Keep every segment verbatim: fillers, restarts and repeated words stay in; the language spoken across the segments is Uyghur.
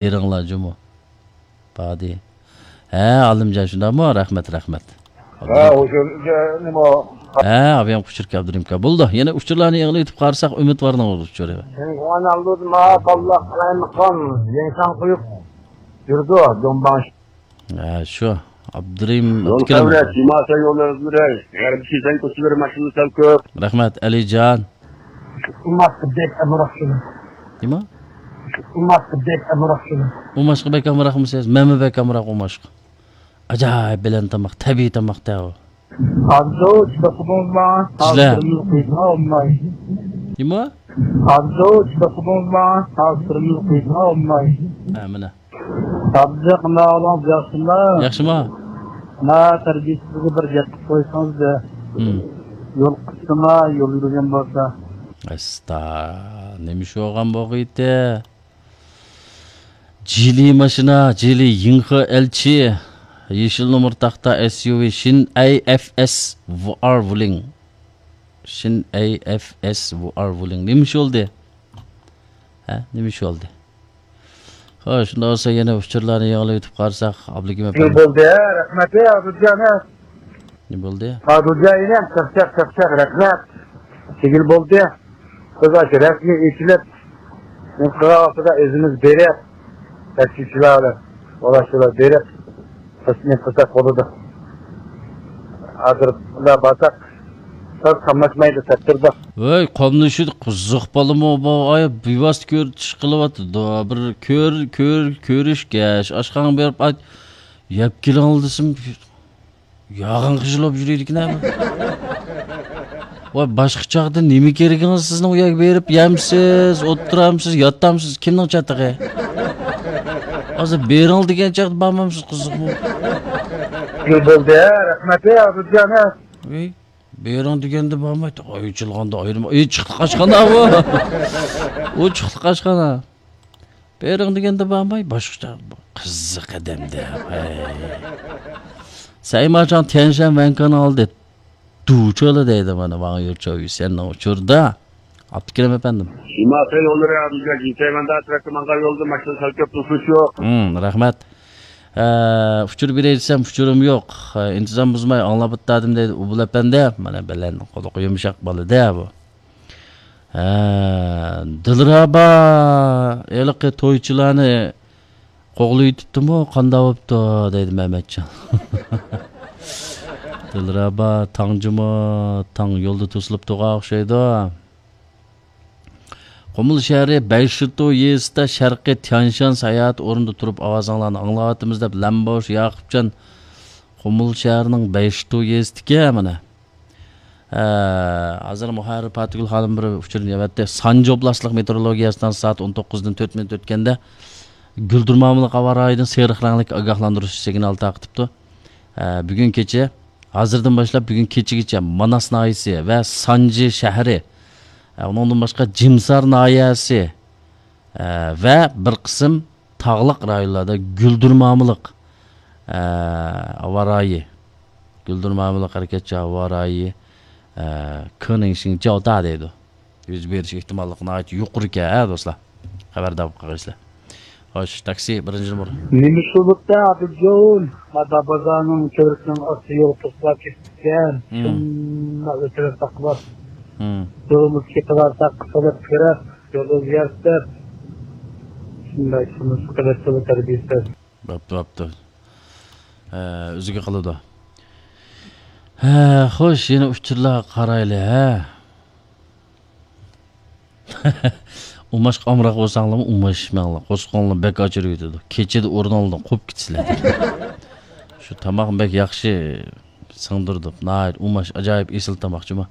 بېرىڭلار جۇمۇ. بادى. ھە، ئالىمجان، شۇنداقمۇ؟ رەھمەت، رەھمەت. ھە، ئۇچۇر، نېمە؟ ھە، ئابىيام ئۇچۇر كەلدى، رىمكا. بولدى، يەنە ئۇچۇرلارنى يېڭىلىۋېتىپ قارىساق، ئۈمىد بارنىڭ ئۇچۇرى. ھە، شۇ. ئابدۇرېھىم ئابدۇرېھىم. يول ئۆتكىنىم. خەۋرە، جىما سەي يوللىرىڭىزنى بېرەي. يەنە بىر كېسەڭ كوچىلىرى ماشىنا سەل كۆپ. رەھمەت، ئەلىجان. ئۇماق بەك ئەمراق شۇنى. نېمە؟ ئۇماق بەك ئەمراق شۇنى. ئۇماشقا بەك ئامراقمۇسىز؟ مەنمۇ بەك ئامراق ئۇماشقا. ئاجايىپ بەلەن تاماق، تەبىئىي تاماق-تە ئۇ. ئابدۇ، چىداپ قىلدىڭىزما؟ سىزلەر. ھازىر قويسا ئالماي. نېمە؟ ئابدۇ، چىداپ قىلدىڭىزما؟ ھازىر قويسا ئالماي. ھە، مانا. ئابدۇ، قانداق ئەھۋالىڭىز، ياخشىمۇ؟ ياخشىما؟ ما تەربىيىسىزگە بىر گەپ قىلىپ قويسىڭىز دە. ھىم. يول قىسقىما، يول يۈرگەن بولسا. ئەستا، نېمە ئىش بولغان بولغىيتى؟ جىلى ماشىنا، جىلى يىڭخې ئەلچى، يېشىل نومۇر تاختا ئەس يۇ ۋى، شىن ئەي ئەف ئەس ۋار ۋۇلىڭ. شىن ئەي ئەف ئەس ۋار ۋۇلىڭ. نېمە ئىش بولدى؟ ھە، نېمە ئىش بولدى؟ خوش، شۇنداق بولسا يەنە ئۇچۇرلارنى يېڭىلىۋېتىپ قارىساق، ئابلىكىم ئەپەندى. بولدى، رەھمەت، ئابدۇجان. نېمە بولدى؟ ئابدۇجان ئىنىم، چاقچاق، چاقچاق، رەھمەت. چىگىل بولدى. بىز ئاشۇ رەسمىي ئېچىلىپ، نېمە قىلغان ۋاقتىدا ئۆزىمىز بېرىپ، تەكشىچىلەر بىلەن ۋالاچىلار بېرىپ، تەسلىم قىلساق بولىدۇ. ھازىر بۇنداق بارساق، ساز قاملاشمايدۇ، تەپتۇردۇق. ۋەي، قاملىشىدۇ، قىزىق بالىمۇ بۇ، ئاي، بىۋاسىتە كۆرۈش قىلىۋاتىدۇ. بىر كۆر-، كۆر-، كۆرۈشكەچ، ئاشخانىغا بېرىپ، ئاي، يەپ كېلىڭ دېسەم، ياغان خىجىل بولۇپ يۈرىدىكەن ھە. ۋاي، باشقا چاغدا نېمە كېرىكىڭىز سىزنىڭ؟ ئۇ يەرگە بېرىپ يەمسىز، ئولتۇرامسىز، ياتامسىز؟ كىمنىڭ چاتىقى؟ ھازىر بېرىڭ دېگەن چاغدا بارمامسىز، قىزىقمۇ؟ بولدى، رەھمەت، ئابدۇجان. ۋەي، بېرىڭ دېگەندە بارمايدۇ. ئاي، ئېچىلغاندا ئايرىم. ئېچىقلىق ئاشخانا بۇ. ئوچۇقلۇق ئاشخانا. بېرىڭ دېگەندە بارماي، باشقىچە قىزىق ئادەمدە. ھەي. سەيماچان تيەنشەن ۋەنكان ئالدى. دۇچۆلى دەيدۇ مانا، ۋاڭ يۇچۆ يۈسەننىڭ ئۇچۇردا. ئابدۇكېرىم ئەپەندىم. شىماسەي يوللىرى ھازىرچە جىنسەيمەندە ترافىك ماڭغان يولدا ماشىنا سەل كۆپ، توسۇش يوق. ھىم، رەھمەت. ئە، ئۇچۇر بېرەي دېسەم، ئۇچۇرۇم يوق. ئە، ئىنتىزام بۇزماي ئاڭلاپ ئۆتەدىم دەيدۇ ئۇبۇل ئەپەندى. مانا بەلەن قۇلىقى يۇمشاق بالىدە بۇ. ھە، دىلرەبا ھېلىقى تويچىلارنى قوغلىۋېتىپتىمۇ، قانداق بوپتۇ دەيدۇ مەمەتجان. دىلرەبا تاڭ جۇمۇ، تاڭ يولدا توسۇلۇپ تۇرغان ئوخشايدۇ. قۇمۇل شەھىرى بەيشىتۇ يېزىسىدا شەرقىي تيەنشان ساياھەت ئورنىدا تۇرۇپ ئاۋازىڭلارنى ئاڭلاۋاتىمىز دەپ لەمبوش ياقۇپجان قۇمۇل شەھىرىنىڭ بەيشىتۇ يېزىسىدىكى مانا. ئە، ھازىر مۇھەررىر پاتىگۈل خانىم بىر ئۇچۇرنى ئەۋەتتى. سانجى ئوبلاستلىق مېتېئورولوگىيە ئىستانسىسى سائەت ئون توققۇزدىن تۆت مىنۇت ئۆتكەندە گۈلدۈرمامىلىق ھاۋا رايىدىن سېرىق رەڭلىك ئاگاھلاندۇرۇش سىگنالى تارقىتىپتۇ. ئە، بۈگۈن كېچە، ھازىردىن باشلاپ بۈگۈن كېچىگىچە ماناس ناھىيەسى ۋە سانجى شەھىرى، ئە، ئۇنىڭدىن باشقا جىمسار ناھىيەسى، ئە، ۋە بىر قىسىم تاغلىق رايونلاردا گۈلدۈرمامىلىق، ئە، ھاۋا رايى، گۈلدۈرمامىلىق ھەرىكەتچان ھاۋا رايى، ئە، كېنىڭشىڭ جاۋدا دەيدۇ. يۈز بېرىش ئېھتىماللىقى ناھايىتى يۇقىرىكەن ھە دوستلار. خەۋەردار بولۇپ قالغايسىلەر. خوش، تاكسى بىرىنچى نومۇر. نېمە ئىش بولۇپتۇ ئابىجون؟ مادا بازارنىڭ كۆۋرۈكىنىڭ ئاستى يول توسۇلۇپ كېتىپتىكەن. ھىم. شۇنداق ئۆتۈۋەتسەك بار. ھىم. يولىمىز كېتىۋاتساق قىسىلىپ كىرىپ، يول ئۆزگەرتىپ، شۇنداق قىلىپ قىلىپ تەربىيىسى. بوپتۇ، بوپتۇ. ھە، ئۆزىگە قىلىدۇ. ھە، خوش، يەنە ئۇچۇرلارغا قارايلى، ھە. ئۇماشقا ئامراق بولساڭلارمۇ ئۇماشماڭلار. قورسىقىڭلار بەك ئاچ يۈرۈۋېتىدۇ. كېچىدە ئورنۇڭلاردىن قوپۇپ كېتىسىلەر. شۇ تاماقنى بەك ياخشى سىڭدۈردۇق. ناھايىتى ئۇماش، ئاجايىپ ئېسىل تاماق جۇمۇ.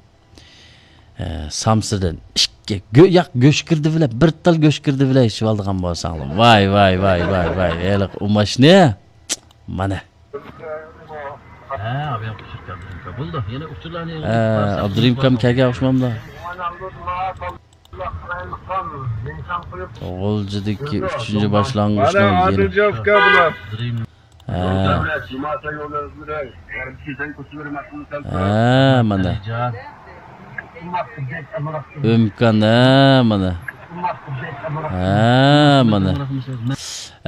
ئە، سامسىدىن ئىككى گۆ-، ياق، گۆش گىردى بىلەن، بىر تال گۆش گىردى بىلەن ئىچىۋالىدىغان بولساڭلار. ۋاي، ۋاي، ۋاي، ۋاي، ۋاي. ھېلىقى ئۇماشنى. مانا. ھە، ئابدۇرېھىم كەلگەن ئوخشىمامدۇ؟ غۇلجىدىكى ئۈچىنچى باشلانغۇچنىڭ مانا يېنى. ئادىلجان ئۇكا بۇلار. ھە. ھە، مانا. ئۆمكان، ھە، مانا. ھە، مانا.